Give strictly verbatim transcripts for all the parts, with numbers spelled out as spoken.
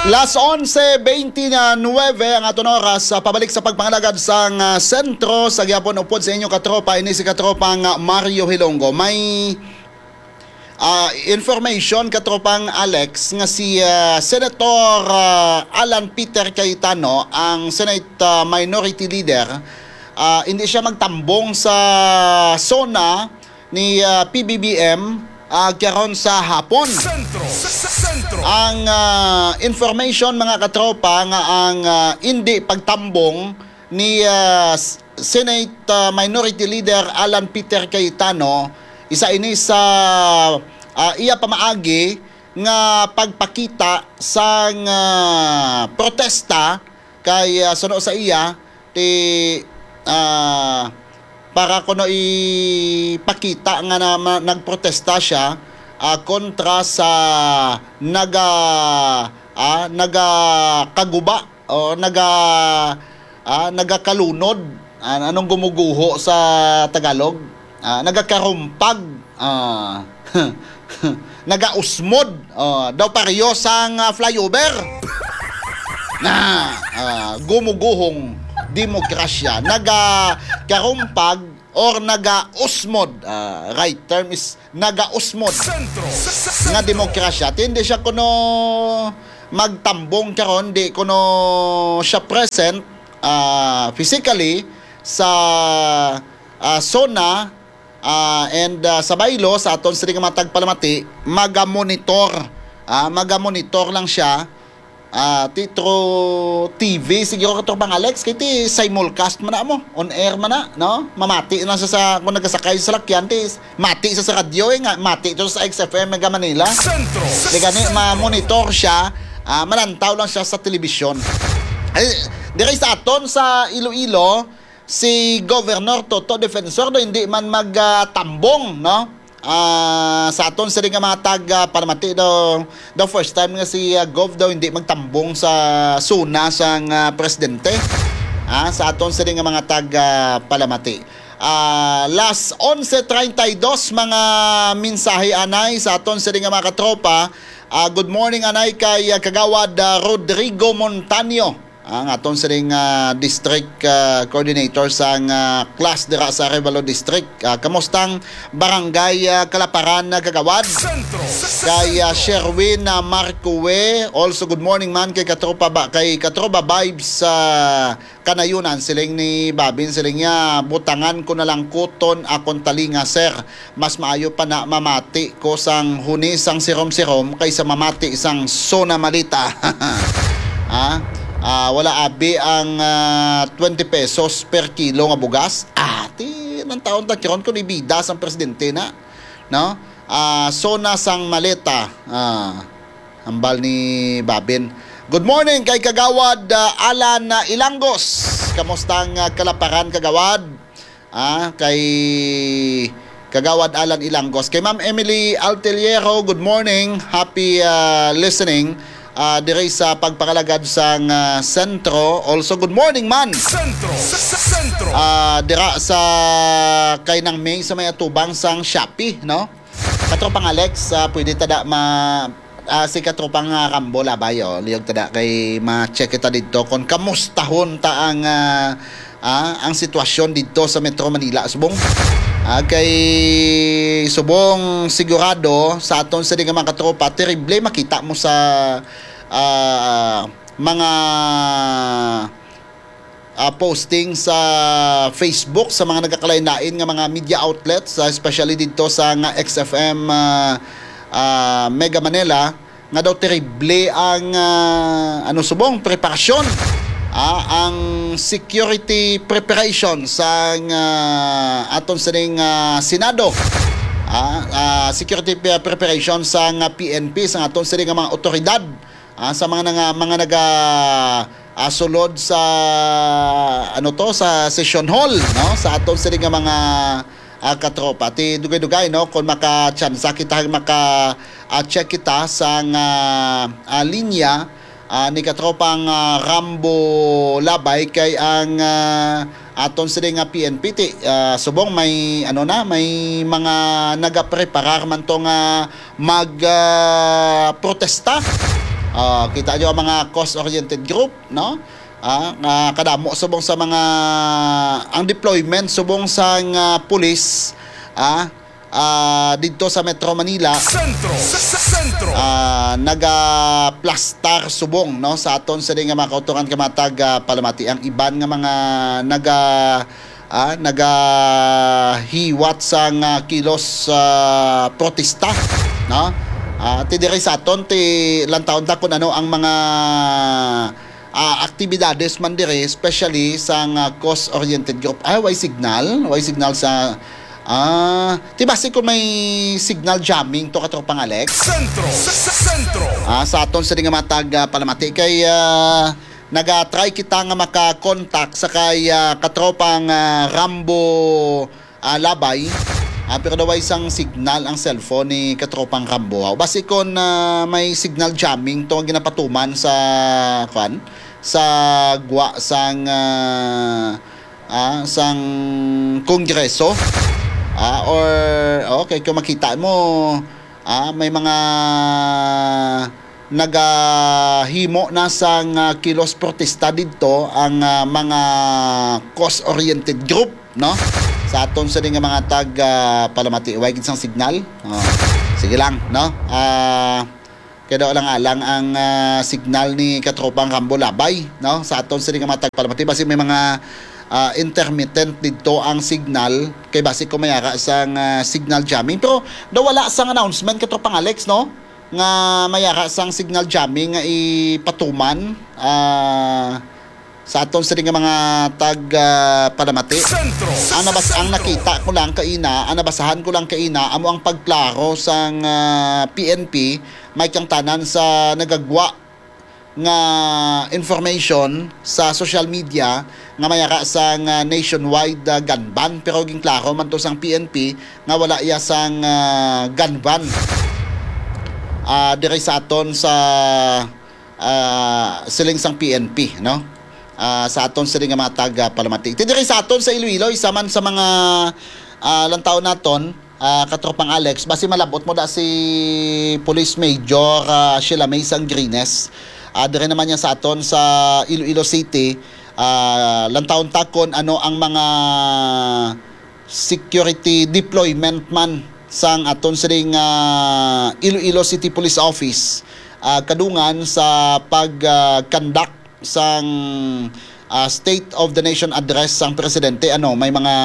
Las onse bente nuebe ang aton oras. Ah, pabalik sa pagpangalagad sang, ah, sentro sa gihapon, upod sa inyo katropa, ini si katropang, ah, Mario Hilonggo. May, ah, information, katropang Alex, nga si, ah, Senator, ah, Alan Peter Cayetano, ang Senate, ah, Minority Leader, ah, hindi siya magtambong sa SONA ni, ah, P B B M, ah, karon sa hapon. Sentro. Sentro. Ang, ah, information, mga katropa, nga ang, ah, hindi pagtambong ni, ah, S-, Senate, ah, Minority Leader Alan Peter Cayetano, isa ini sa, ah, iya pamaagi nga pagpakita sang, ah, protesta kay, ah, suno sa iya, ti, ah, para kuno ipakita nga na, ma-, nagprotesta siya, ah, kontra sa naga-, ah, nagakaguba o naga-, ah, nagakalunod. Ah, anong gumuguho sa Tagalog? Ah, nagakarumpag. Ah, nagausmod. Ah, daw pareho sang, ah, flyover. Na, ah, gumuguhong demokrasya. Nagakarumpag or nagausmod. Ah, right term is nagausmod Sentro. Nga demokrasya. Ti hindi siya kuno magtambong karon, di kuno siya present, ah, physically sa, ah, SONA, ah, and, ah, sa baylo sa aton sini nga mga tagpalamati, magamonitor. Ah, magamonitor lang siya. Ah, ti through T V, siguro, katropang Alex, kay ti simulcast man na mo, on air man na, no? Mamati lang siya sa, kung nagasakay sa salakyan, ti mati siya sa radyo, eh, nga, mati to sa X F M Mega Manila. Sentro. Di gani, ma-monitor siya, ah, malantaw lang siya sa telebisyon. Ay, diri sa aton sa Iloilo, si Governor Toto Defensor do hindi man magtambong, no? Ah, sa aton sini nga mga tag, ah, palamati daw, the first time nga si, ah, Gov daw hindi magtambong sa SONA sang, ah, presidente. Ah, sa aton sini nga mga tag, ah, palamati. Ah, las onse treinta y dos, mga mensahe anay sa aton sini nga mga katropa. Ah, good morning anay kay, ah, Kagawad, ah, Rodrigo Montaño. Ang aton sining, ah, district, ah, coordinator sang, ah, class dira sa Arevalo District. Ah, kamustang barangay, ah, Kalaparan, ah, Kagawad? Sentro. Kay, ah, Sherwin, ah, Marcoe, also good morning man kay Katropa ba, kay Katropa Vibes sa Kanayunan, siling ni Babin, siling niya, "Butangan ko na lang kuton akon talinga, sir." Mas maayo pa na mamati ko sang huni sang sirom-sirom kaysa mamati sang SONA maleta. Ha? Ah, wala abi ang, ah, twenty pesos per kilo nga bugas. Ah, ti, nang taon ta karon kung ibida sang presidente na, no? Ah, SONA sang maleta. Ah, hambal ni Babin. Good morning kay Kagawad, ah, Alan, ah, Ilangos. Kamusta ang, ah, Kalaparan, Kagawad? Ah, kay Kagawad Alan Ilangos. Kay Ma'am Emily Alteliero, good morning. Happy, ah, listening, ah, diri sa pagpangalagad sang, ah, sentro. Also, good morning man. Sentro. Sentro. Ah, dira sa kay Nang May sa may atubang sang Shopee, no? Katropang Alex, ah, pwede ta da ma-, ah, si Katropang, ah, Rambo Labay, oh, liyog ta da kay ma-check kita didto kung kamustahon ta ang, ah, ah, ang sitwasyon didto sa Metro Manila, subong. Ah, kay subong sigurado sa aton sini nga mga katropa, terrible makita mo sa, ah, mga ah, posting sa Facebook sa mga nagkakalain-lain nga mga media outlets, ah, especially didto sa nga X F M, ah, ah, Mega Manila, nga daw terrible ang, ah, ano, subong preparasyon, ah, ang security preparation sa nga aton sining, ah, Senado, ah, ah, security pre-, preparation sa nga P N P, sa aton sining nga mga otoridad, ah, sa mga nanga-, mga naga, ah, sulod sa, ano to, sa session hall, no? Sa aton sini nga mga, ah, katropa. Ti dugay-dugay, no, kung makatsansa kita, maka, ah, check kita sa nga, ah, linya, ah, ni katropang, ah, Rambo Labay kay ang, ah, aton sini nga P N P ti, ah, subong may, ano na, may mga nagapreparar man to nga mag, ah, protesta. Ah, kita nyo ang mga cause-oriented group, no? Ah, nga kadamo subong sa mga, ang deployment subong sang, ah, pulis, ah, ah, didto sa Metro Manila, Sentro. Sentro. Ah, nagaplastar subong, no, sa aton sini nga mga kautoran, ka mga tag, ah, palamati. Ang iban nga mga naga, ah, nagahiwat sang, ah, kilos, ah, protesta, no? Ah, ti diri sa aton, ti lantawon ta kung ano ang mga, ah, aktibidades man diri, especially sang, ah, cause-oriented group. Ay, way signal, way signal sa, ah, ti basi kung may signal jamming to, katropang Alex? Sentro. Sentro. Ah, sa aton sini nga mga tag, ah, palamati kay, ah, naga-try kita nga maka-contact sa kay, ah, katropang, ah, Rambo, ah, Labay. Ah, pero daw way sang signal ang cellphone ni katropang Rambo. Ah, basi kon, ah, may signal jamming to nga ginapatuman sa, kwan, sa gwa sang, ah, ah, sang Kongreso. Ah, or, okay, kung makita mo, ah, may mga nagahimo na sang, ah, kilos protesta didto ang, ah, mga cause-oriented group, no? Sa aton sini nga mga tag, ah, palamati, way gid sang signal. Oh, sige lang, no? Ah, kaya daw lang alang ang, ah, signal ni katropang Rambo Labay, no? Sa aton sini nga mga tag palamati, basi may mga, ah, intermittent didto ang signal, kay basi kung mayara sang, ah, signal jamming. Pero daw wala sang announcement, katropang Alex, no? Nga mayara sang signal jamming nga ipatuman, ah, sa aton sini nga mga tag, ah, palamati. Sentro. Ang nabas-, ang nakita ko lang kaina, ang nabasahan ko lang kaina, amo ang pagklaro sang, ah, P N P, may kangtanan sa nagagwa nga information sa social media nga mayara sang, ah, nationwide, ah, gun ban, pero ginklaro man to sang P N P nga wala iya sang, ah, gun ban, ah, diri sa aton sa, ah, siling sang P N P, no? Ah, sa aton sini nga mga tag, ah, palamati. Ti diri sa aton sa Iloilo, isa man sa mga, ah, lantawon naton, ah, katropang Alex, basi malabot mo da si Police Major, ah, Sheila May Sangrines. Ah, diri naman niya sa aton sa Iloilo City, ah, lantawon ta kon ano ang mga security deployment man sang aton sining, ah, Iloilo City Police Office, ah, kadungan sa pag, ah, conduct sang, ah, State of the Nation Address sang Presidente. Ano, may mga,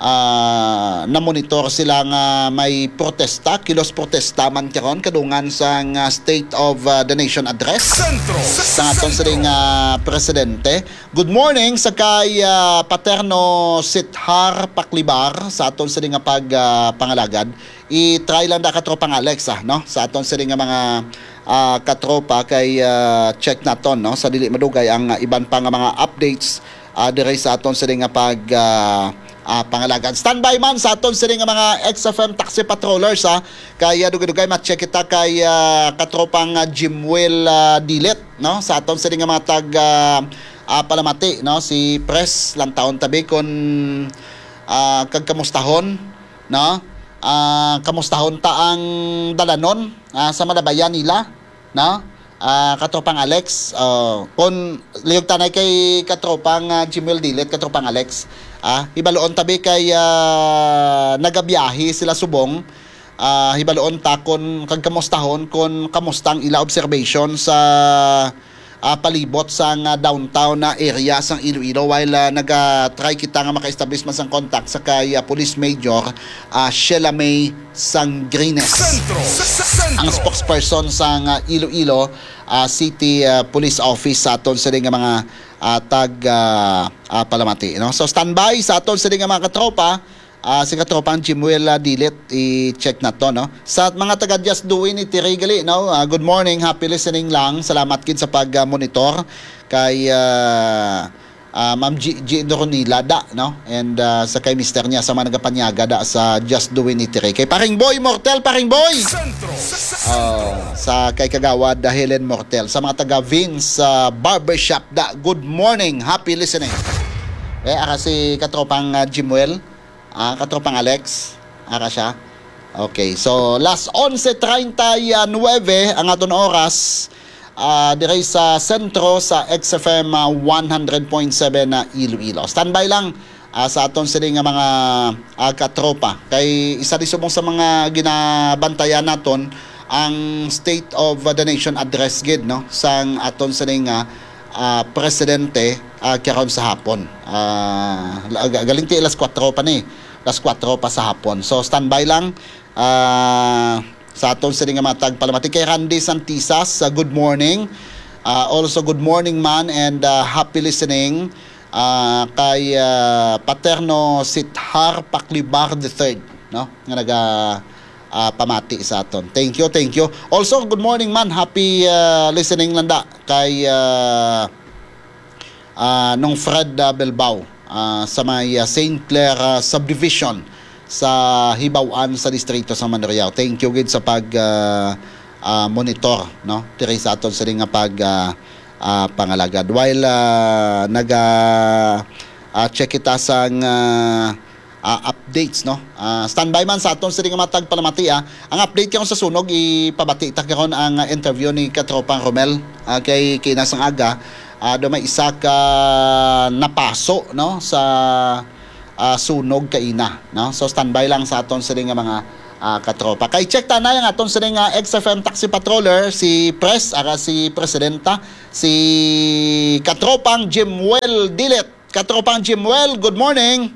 ah, namonitor sila nga may protesta, kilos protesta man karon kadungan sang, ah, State of, ah, the Nation Address Sentro. Sang aton sining, ah, Presidente. Good morning sa kay, ah, Paterno Sithar Paklibar sa aton sini nga pag, ah, pangalagad. I-try lang da katropang Alex, ah, no? Sa aton sini nga mga, ah, katropa kay, ah, check naton, no? Sa dili madugay ang, ah, iban pa nga mga updates, ah, diri sa aton sini nga pag, ah, ah, pangalagad. Standby man sa aton sini nga mga X F M taxi patrollers, ah. Kay, ah, dugay-dugay ma-check kita kay, ah, katropang, ah, Jimwell, ah, Dilet, no? Sa aton sini nga mga tag, ah, ah, palamati, no? Si Pres, lantawon tabi kon, ah, kag kamustahon, no? Ah, kamustahon ta ang dalanon, ah, sa malabayan nila, no? Ah, katropang Alex, oh, kon liyog tanay kay katropang, ah, Jimwell Dilet, katropang Alex, ah, hibaluon tabi kay, ah, nagabiyahe sila subong, ah, hibaluon ta kon kag kamustahon kon kamusta ang ila observation sa, ah, palibot sang, ah, downtown na area sang Iloilo, while, ah, naga-try kita nga maka-establish man sang contact sa kay, ah, Police Major, ah, Sheila May Sangrines. Sentro. Sentro. Ang spokesperson sang, ah, Iloilo, ah, City, ah, Police Office sa aton sini nga mga, ah, tag, ah, ah, palamati, no? So, standby sa aton sini nga mga katropa. Ah, si katropang Jimuel, ah, Dilit, i-check nato, no? Sa mga taga Just Do It ni Tiri gali, no? Ah, good morning, happy listening lang. Salamat gid sa pag, ah, monitor kay, ah, ah, Ma'am G-, G-, Doronila da, no? And, ah, sa kay mister niya, sa mga nagapanyaga da sa Just Do It ni Tiri. Kay Paring Boy Mortel, Paring Boy! Sentro. Oh, sa kay Kagawad, ah, Helen Mortel. Sa mga taga Vince, ah, Barbershop da, good morning, happy listening. Eh, ara si katropang, ah, Jimuel. Ah, katropang Alex, ara siya. Okay, so last onse treinta y nueve ang aton oras. ah, diri sa sentro sa X F M, ah, one hundred point seven na Iloilo. Standby lang, ah, sa aton sini nga mga, ah, katropa. Kay isa di subong sa mga ginabantayan naton ang State of the Nation Address gid, no, sang aton sini nga, ah, presidente, ah, karon sa hapon. Ah, la- ga- galing ti alas kuwatro pa ni. Alas kuwatro pa sa hapon. So standby lang, ah, sa aton sini nga mga tagpalamati. Kay Randy Santisas, ah, good morning. Ah, also, good morning man and, ah, happy listening, ah, kay, ah, Paterno Sithar Paclibar the third, no? Nga naga, ah, pamati sa aton. Thank you, thank you. Also, good morning man. Happy, ah, listening lang da kay, ah, ah, Nong Fred, ah, Belbao, ah, sa may, ah, Saint Clair, ah, Subdivision sa Hibaw-an sa Distrito sa Manriao. Thank you gid sa pag, ah, ah, monitor, no, diri sa aton sini nga pag, ah, ah, pangalagad. While, ah, naga, ah, check kita sang, ah, ah, updates, no? Ah, standby man sa aton sini nga mga tagpalamati, ah. Ang update karon sa sunog, ipabati ta karon ang, ah, interview ni Katropang Romel, ah, kay kinasang aga, ah, do may isa ka napaso, no, sa, ah, sunog kaina, no? So standby lang sa aton sini nga mga, ah, katropa. Kay check ta na ang aton sini nga X F M taxi patroller, si Pres, ara si Presidenta, si Katropang Jimwell Dilet. Katropang Jimwell, good morning.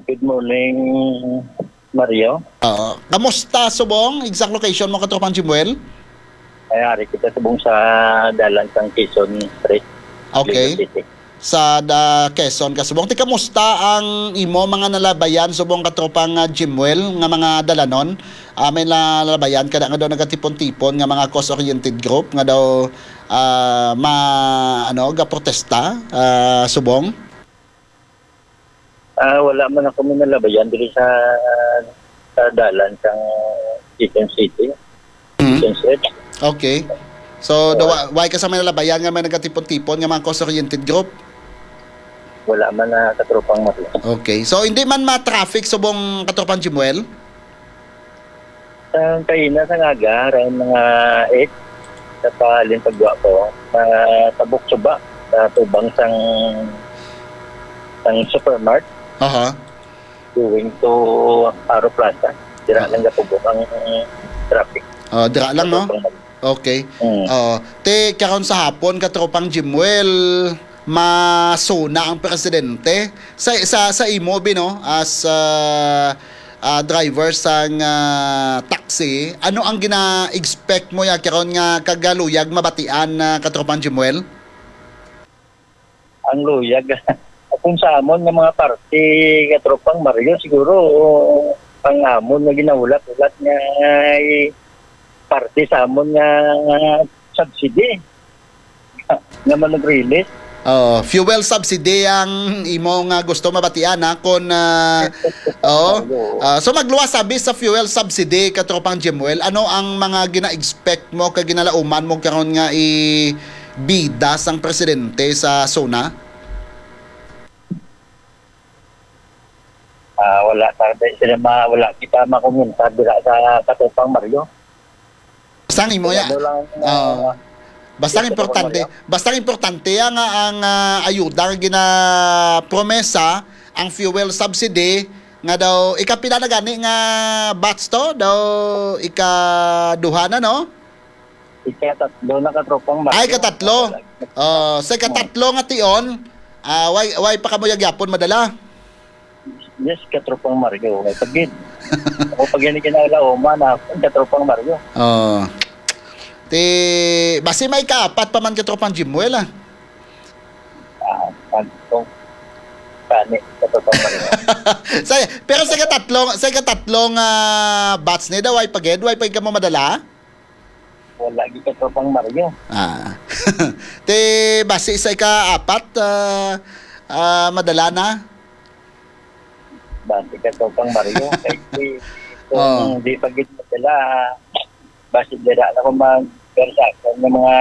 Good morning, Mario. Oo. Kamusta subong? Exact location mo, Katropang Jimwell? Ay, ari kita subong sa dalan sang Quezon Street, Okay. Quezon City. Sa da Quezon ka subong. Ti, kamusta ang imo mga nalabayan subong, Katropang, ah, Jimwell, nga mga dalanon? Ah, may nalabayan ka na nga daw nagatipon-tipon nga mga cause-oriented group nga daw, ah, ma-, ano, gaprotesta, ah, subong? Ah, wala man ako minalabayan diri sa, sa dalan sang Quezon City. Mm. Quezon Street. Okay. So, daw, Wala. wa-, why ka sa may nalabayan nga may nagatipon-tipon nga mga cause-oriented group? Wala man na, Katropang Marlon. Okay. So, hindi man ma-traffic subong, Katropang Jimwell? Sa kaina sa ngaga, around mga eight, sa pahalin pagwa ko, sa tabok suba, sa tubang sang, sang Supermart, Aha. going to Aro Plaza. Dira Ah. lang gatubok ang traffic. Ah, dira lang, no? Katropang Marlon. Okay. Mm. Ah, ti, karon sa hapon, Katropang Jimwell, masuna ang presidente. Sa, sa, sa imo, Bi, no, as, ah, ah, driver sang, ah, taxi, ano ang gina-expect mo ya karon nga kagaluyag mabatian, ah, Katropang Jimwell? Ang luyag. Kung sa amon nga mga party, Katropang Mario, siguro ang amon nga ginahulat-hulat nga, eh, party sa amon nga subsidy nga manag-release. Oh, fuel subsidy ang imo nga gusto mabatian, ha? Kung, ah, oo. Oo. Ah, so, magluwas sabi sa fuel subsidy, Katropang Jimwell, ano ang mga gina-expect mo kag ginalauman mo karon nga ibida sang presidente sa SONA? Ah, wala ta, sila ma-, wala kita makomentar dira sa Katropang Mario. Basta ang imo ya. Ano lang, Oo. ah, Basta ang yes, importante, Maria. Basta ang importante ya nga ang, ah, ayuda nga ginapromesa, ang fuel subsidy, nga daw, ikapila na gani nga batch to? Daw ikaduha na, no? Ikatatlo na, Katropang Mario. Ay, katatlo. Wala. Oh, sa ikatatlo nga tion, ah, why, why pa kamo yagyapon madala? Yes, Katropang Mario. Why pa gid? Ako pa gid kinalaoman na, Katropang Mario. Oh. Ti, basi may kaapat pa man, Katropang Jimwell, ah. Ah, pag-, kung kani, Katropang Mario. Sa, pero sa ikatatlo, sa ikatatlo nga batch ni daw, why pa gid? Why pa gid kamo madala? Wala gid, Katropang Mario. Ah. Ti, basi sa ika-apat, ah, ah, madala na? Basi, Katropang Mario, kay si, kung Oh. di pa gid madala, basi dira na ko mag-, pero sa akon nga mga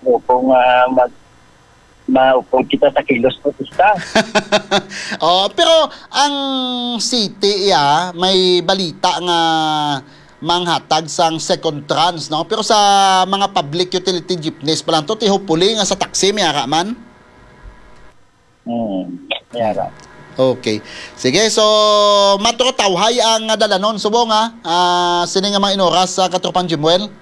grupo nga mag-, maupod kita sa kilos protesta. Oh, pero ang city, ya, may balita nga manghatag sang second tranche, no? Pero sa mga public utility jeepneys pa lang to, ti hopefully nga sa taxi, may ara man. Hmm. Yara. Okay. Sige, so matro tawhay ang dalanon subong, ha? Ah, sini nga mga inoras sa katropang Jimuel.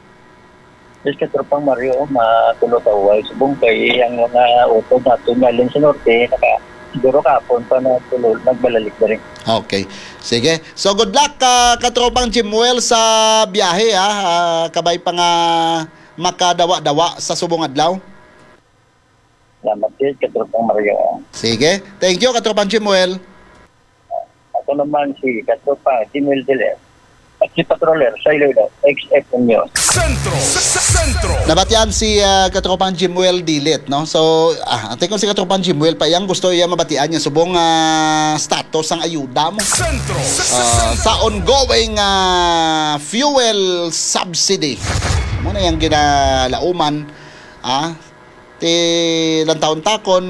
Yes, katropang Mario, matulo tawhay subong kay ang mga utod nato nga alin sa norte, naka siguro kahapon pa na tulo nagbalalik na rin. Okay. Sige. So good luck, ah, katropang Jimuel, sa biyahe, ha. Ah, kabay pa nga makadawa-dawa sa subong adlaw. Salamat gid, katropang Mario. Sige. Thank you, katropang Jimuel. Ako naman si katropang Jimil Dile. At si Patroller sa Iloilo, X F M News. Sentro, Sentro. Nabatian si, ah, katropang Jimuel Dilit, no? So, ah, antay ko si katropang Jimuel pa, iyang gusto iya mabatian niya subong, ah, status sang ayuda mo. Sentro, Ah, sa ongoing, ah, fuel subsidy. Mo na yung ginalauman, ah, ti lantawon ta kon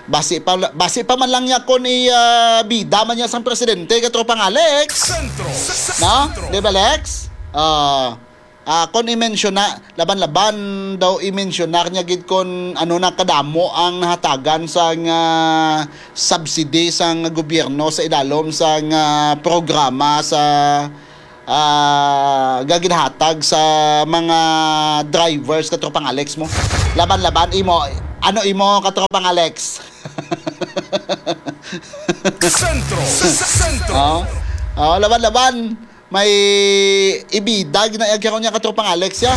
basi pa, basi pa man lang niya kon i, ah, bida man niya sang presidente, katropang Alex. Sentro, No? Di ba, Lex? Ah, ah, kon i-mention na, laban-laban daw i-mention na niya gid kon ano na kadamo ang nahatagan sang, ah, subsidy sang gobyerno sa idalom sang, ah, programa sa, ah, nga ginahatag sa mga drivers, katropang Alex mo. Laban-laban, imo, ano imo, katropang Alex? Sentro, Sentro. Oh. Oh, laban-laban. May ibida na karon niya, katropang Alex, ya.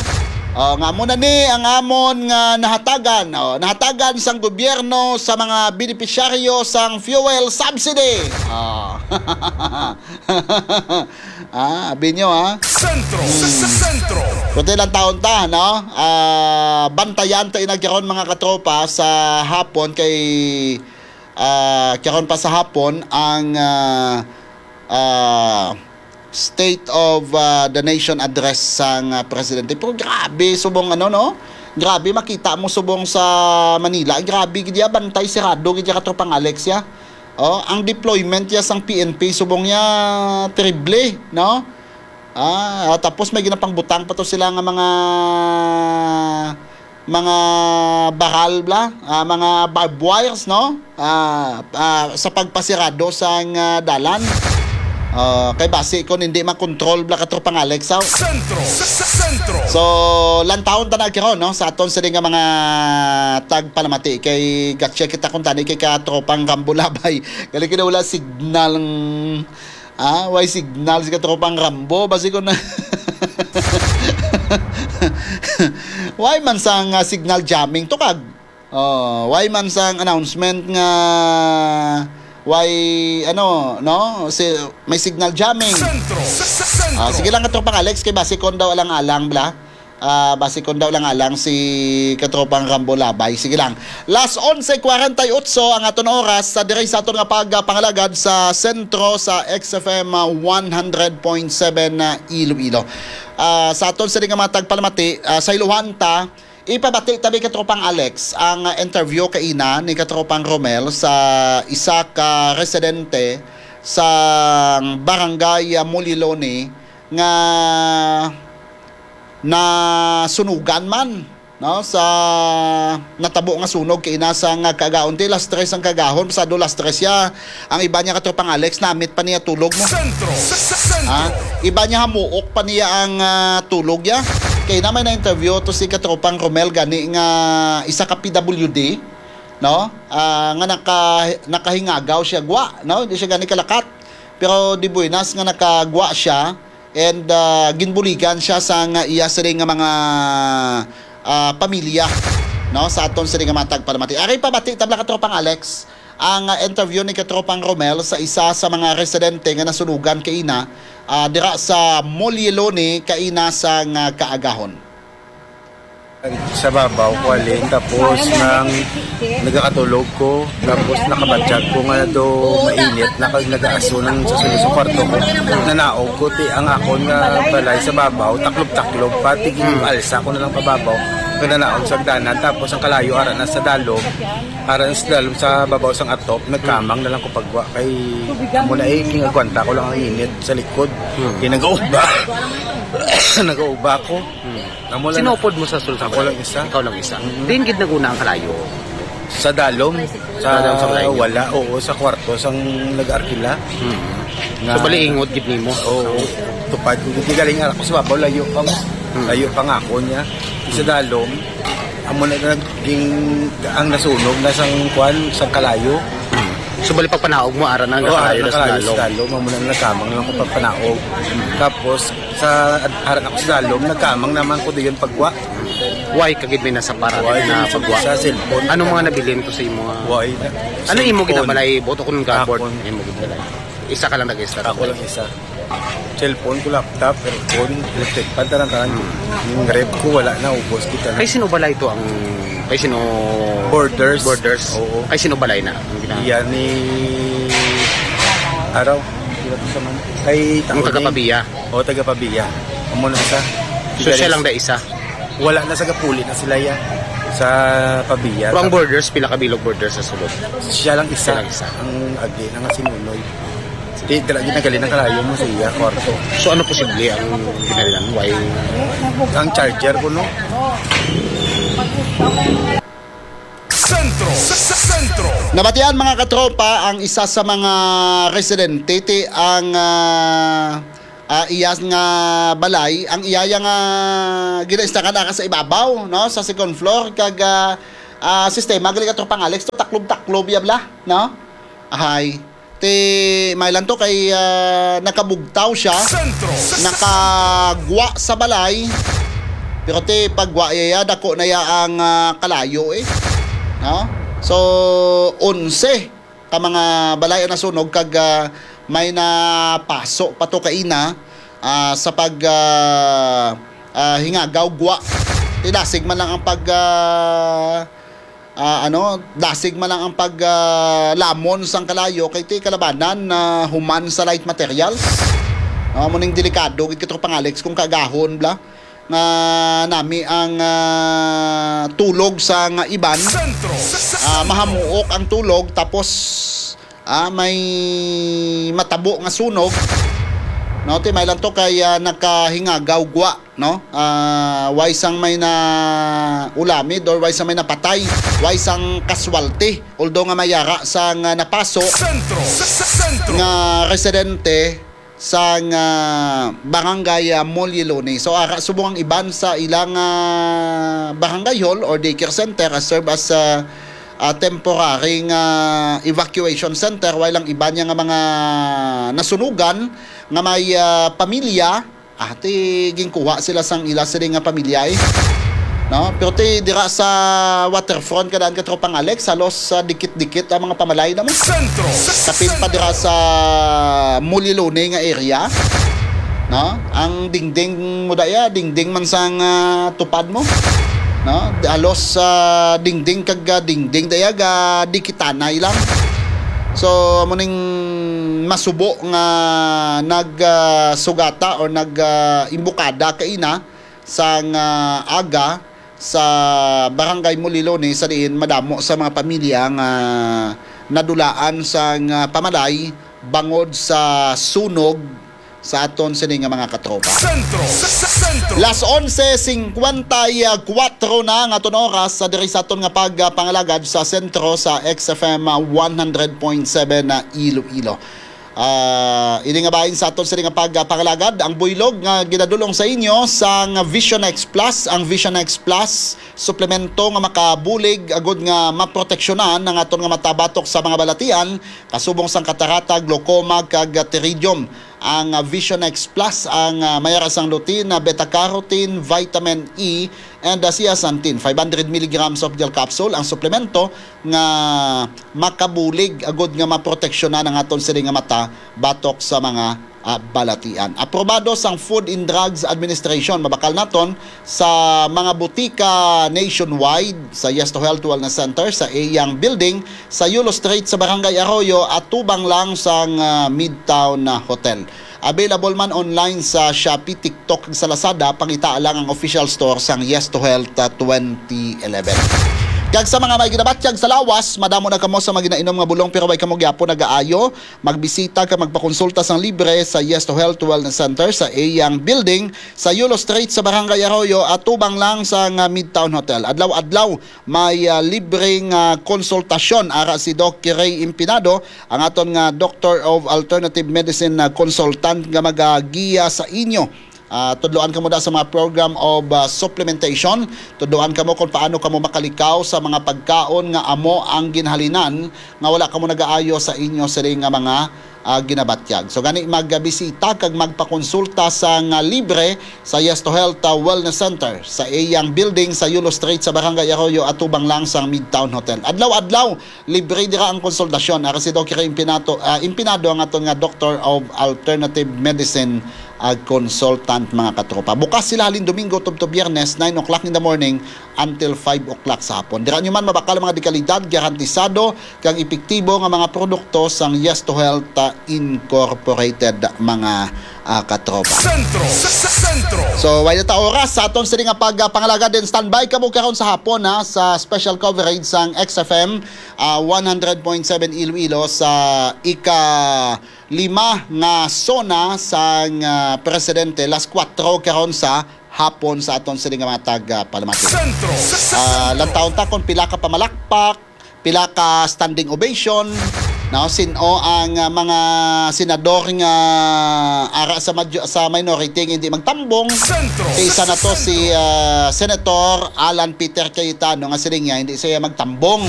Oh, nga mo na ni ang amon nga nahatagan. Oh, nahatagan sang gobyerno sa mga benepisyaryo sang fuel subsidy. Oh. Ah, abi nyo, ha? Sentro, Sentro. Kunti lang taon ta, no? Ah, bantayan ta inagyaron, mga katropa, sa hapon kay, ah, karon pa sa hapon ang, ah, ah, State of, ah, the Nation Address sang, ah, presidente. Pero grabe, subong ano, no? Grabe, makita mo subong sa Manila. Grabe, gid ya, bantay, sirado, gid ya, katropang Alex, ya. Oh, ang deployment ya sang P N P subong ya, terrible, no? Ah, tapos may ginapangbutang pa to sila nga mga, mga baral bla, ah, mga barbed wires, no? Ah, ah, sa pagpasirado sang, ah, dalan. Ah, kay basi kon hindi makontrol bla, katropang Alex, aw. Sentro, Sentro. So, lantawon ta na karon, no, sa aton sini nga mga tagpalamati kay gatya kita kung tani kay katropang Rambo Labay. Gali kina wala signal ng, ah, way signal si katropang Rambo. Basi ko na. Way man sang, ah, signal jamming to kag. Oh, way man sang announcement nga way, ano, no? Si, may signal jamming. Sentro, Sentro. Ah, sige lang, katropang Alex, kay basi kon daw alang-alang bla. Ah, basi kon daw lang alang si katropang Rambo Labay. Sige lang. Las onse cuarenta y ocho ang aton oras sa diri sa aton nga pagpangalagad sa sentro sa X F M, ah, one hundred point seven na Iloilo. Ah, sa aton sini nga mga tagpalamati, ah, sa iluhan ta, ipabati tabi, katropang Alex, ang, ah, interview kaina ni katropang Romel sa isa ka residente sa barangay, ah, Muliloni nga nasunugan man, no, sa natabo nga sunog kaina sang kaagahon. Ti las tres ang kaagahon, pasado las tres ya. Ang iba niya, katropang Alex, namit pa niya tulog mo. Sentro, Sentro. Ha? Iba niya, hamuok pa niya ang, ah, tulog ya. Kay na may na-interview to si katropang Romel gani nga isa ka P W D, no? Ah, nga naka, nakahingagaw siya gwa, no? Hindi siya gani kalakat. Pero di buenas nga nakagwa siya and, ah, ginbuligan siya sa nga iya sila nga mga, ah, pamilya, no? Sa aton sila nga mga tagpalamati. Ari pabati tabla, katropang Alex, ang, ah, interview ni katropang Romel sa isa sa mga residente nga nasunugan kaina, ah, dira sa Moliloni kaina sa nga kaagahon. Sa babaw ko, alin, tapos nang nagakatulog ko, tapos nakabatyag ko nga do mainit, nakag nagaaso nang sa sulod sa kwarto ko. Nanaog ko, ti ang akon nga balay sa babaw, taklob-taklob pa, tigil alsa ko na lang pababaw. Kananaog sa hagdanan, tapos ang kalayo ara na sa dalom, ara na sa dalom sa babaw sang atop, nagkamang na lang ko pagwa kay amo na eh, king agwanta ko lang ang init sa likod. Hmm. Kay nagauba. Nagauba ko. Hmm. Amo lang. Sino upod mo sa sulod sa balay? Ako lang isa. Ikaw lang isa. Mm-hmm. Diin gid nag-una ang kalayo? Sa dalom. Sa, sa wala, oo, sa kwarto sang nag-arkila. Hmm. So, bali ingod gid nimo? Oo. Tupad ko gid galing ara ko sa babaw, layo pa mo. Hmm. Layo pa nga ako niya. Sa dalom, amo na naging ang nasunog na sang kwan, sang kalayo. Hmm. So, bali pagpanaog mo, ara na ang nakalayo na sa dalom. Oo, nakalayo sa dalom. Amo na nagkamang lang ko pagpanaog. Hmm. Tapos, sa ad-, ara na ko sa dalom, nagkamang naman ko diyon pagwa. Why ka gid may nasa para na pagwa? Sa cellphone. Anong mga nabilin to sa imo, ah? Why? Ano imo gid ang balay? Buto ko ng gabord. Imo gid balay. Isa ka lang nag-istar. Ako lang isa. Cellphone ko, laptop, aircon, electric fan, tanan-tanan. Hmm. Yung ref ko, wala na, ubos kita na. Kay sino balay to ang, kay sino? Borders. Borders. Oo. Kay sino balay na? Ang gina- Iya ni Araw. Sino to sa man? Kay Taon taga Pavia. O, taga Pavia. Amo na sa. So, siya lang da isa? Wala na sa Gapuli na sila ya. Sa Pavia. Pero ang borders, pila ka bilog borders sa sulod? Siya lang isa. Siya lang isa. Ang agi na nga si Nunoy. Di, dala gid nagaling ang kalayo mo sa iya, kwarto. So, ano posible ang ginalinan? Why? Ang charger ko, no? Sentro, sa, sa sentro. Nabatian, mga katropa, ang isa sa mga residente, ti ang, ah, ah, iya nga balay, ang iya nga ginainstakan aka sa ibabaw, no, sa second floor, kag, ah, ah, sistema gali, katropang Alex, to taklob-taklob ya bala, no? Ahay. Ti, may lang to kay, ah, nakabugtaw siya, sentro, nakagwa sa balay. Pero ti, pagwa iya, dako na iya ang, ah, kalayo, eh. No? So, onse ka mga balay ang nasunog kag, ah, may napaso pa to kaina, ah, sa pag, ah, ah, hingagaw gwa. Ti dasig man lang ang pag, ah, ah, ano, dasig man lang ang pag, ah, lamon sang kalayo kay ti kalabanan na human sa light materials. No, amo ning delikado gid, katropang Alex, kung kaagahon bala nga nami ang, ah, tulog sang iban. Sentro. Ah, mahamuok ang tulog, tapos, ah, may matabo nga sunog. No, ti may lang to kay, ah, nakahingagaw gwa, no? Ah, way sang may na ulamid or way sang may napatay, way sang casualty. Although nga may ara sang, ah, napaso, sentro, sa, sa, sentro, nga residente sang, ah, barangay, ah, Molilone. So, ara subong ang iban sa ilang, ah, barangay hall or daycare center, ah, serve as, ah, ah, temporary nga evacuation center, while ang iban niya nga mga nasunugan nga may, ah, pamilya, ah, ti ginkuha sila sang ila sini nga pamilya, eh. No? Pero ti dira sa waterfront, kadaan, katropang Alex, halos, ah, dikit-dikit ang mga pamalay na mo. Sentro. Kapin pa dira sa Mulilone nga area. No? Ang dingding mo daya, dingding man sang, ah, tupad mo. No? Halos, ah, dingding kag, ah, dingding daya ga dikitanay lang. So, amo ning masubo nga nag, ah, sugata or nag, ah, imbukada kaina sang, ah, aga sa Barangay Mulilone, sa diin madamo sa mga pamilya nga nadulaan sang, ah, pamalay bangod sa sunog sa aton sini nga mga katropa. Sentro, sa, sa, sentro. Las onse cincuenta y cuatro na ang aton oras sa diri sa aton nga pagpangalagad sa sentro sa X F M one hundred point seven na Iloilo. Ah, ini nga bahin sa aton sini nga pagpangalagad, ang buylog nga ginadulong sa inyo sang Vision X Plus. Ang Vision X Plus, suplemento nga makabulig agud nga maproteksyonan ang aton nga mata batok sa mga balatian, kasubong sang katarata, glaucoma, kag pterygium. Ang, ah, Vision X Plus, ang, ah, may ara sang lutein, ah, beta carotene, vitamin E, and, ah, zeaxanthin, five hundred milligrams of gel capsule, ang suplemento nga makabulig agud nga maproteksyonan ang aton sini nga mata batok sa mga, ah, balatian. Aprobado sang Food and Drugs Administration, mabakal naton sa mga butika nationwide, sa Yes to Health Wellness Center, sa Eyang Building, sa Yulo Street, sa Barangay Arroyo, atubang lang sang, ah, Midtown, ah, Hotel. Available man online sa Shopee, TikTok, ug sa Lazada, pangitaa lang ang official store sang Yes to Health, ah, twenty eleven. Kag sa mga may ginabatyag sa lawas, madamo na kamo sa mga ginainom nga bulong pero way kamo gyapon nagaayo, magbisita kag magpakonsulta sang libre sa Yes to Health Wellness Center sa iyang building sa Yulo Street sa Barangay Arroyo, atubang lang sang, ah, Midtown Hotel. Adlaw-adlaw may, ah, libreng, ah, konsultasyon ara si Doc Ray Impinado, ang aton nga Doctor of Alternative Medicine na consultant nga magagiya sa inyo. Ah, tudloan kamo da sa mga program of, ah, supplementation. Tudloan kamo kung paano kamo makalikaw sa mga pagkaon nga amo ang ginhalinan nga wala kamo nagaayo sa inyo sini nga mga, ah, ginabatyag. So gani, magbisita kag magpakonsulta sa nga libre sa Yes to Health, ah, Wellness Center sa iyang building sa Yulo Street sa Barangay Arroyo, atubang lang sang Midtown Hotel. Adlaw-adlaw libre dira ang konsultasyon. Ara si Doc Ray Impinato, ah, Impinado ang aton nga Doctor of Alternative Medicine, ah, consultant, mga katropa. Bukas sila halin Domingo tubtob Biyernes, nine o'clock in the morning until five o'clock sa hapon. Dira nyo man mabakal ang mga dekalidad, garantisado kag epektibo nga mga produkto sang Yes to Health, ah, Incorporated, mga, ah, katropa. Sentro, Sentro. So, way na ta oras sa aton sini nga pagpangalaga din. Standby kamo karon sa hapon, ha, sa special coverage sang X F M, ah, one hundred point seven Iloilo sa ika-lima nga SONA sang, ah, Presidente, las kuwatro karon sa hapon sa aton sini nga mga tag, ah, palamati. Sentro, Ah, Sentro. Lantawon ta kung pila ka pamalakpak, pila ka standing ovation, no? Sin-o ang, ah, mga senador nga ara sa major-, sa minority nga hindi magtambong? Sentro. Isa na to si, ah, Senator Alan Peter Cayetano nga siling niya hindi siya magtambong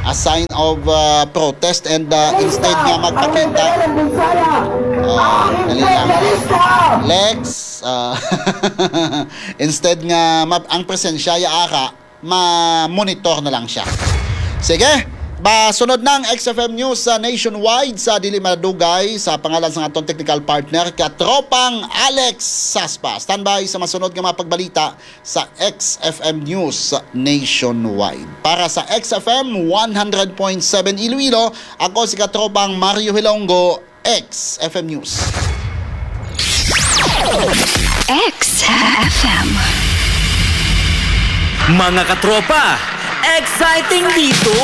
as sign of, ah, protest and, ah, instead nga magpakita. Ah, dali lang. Lex, ah, instead nga ma-, ang presensya ya ara, ma-monitor na lang siya. Sige, ba, sunod na ang X F M News sa nationwide sa dili madugay sa pangalan sa aton technical partner, Katropang Alex Saspa. Standby sa masunod nga mga pagbalita sa X F M News nationwide. Para sa X F M one hundred point seven Iloilo, ako si Katropang Mario Hilonggo, X F M News. X F M. Mga katropa, exciting dito!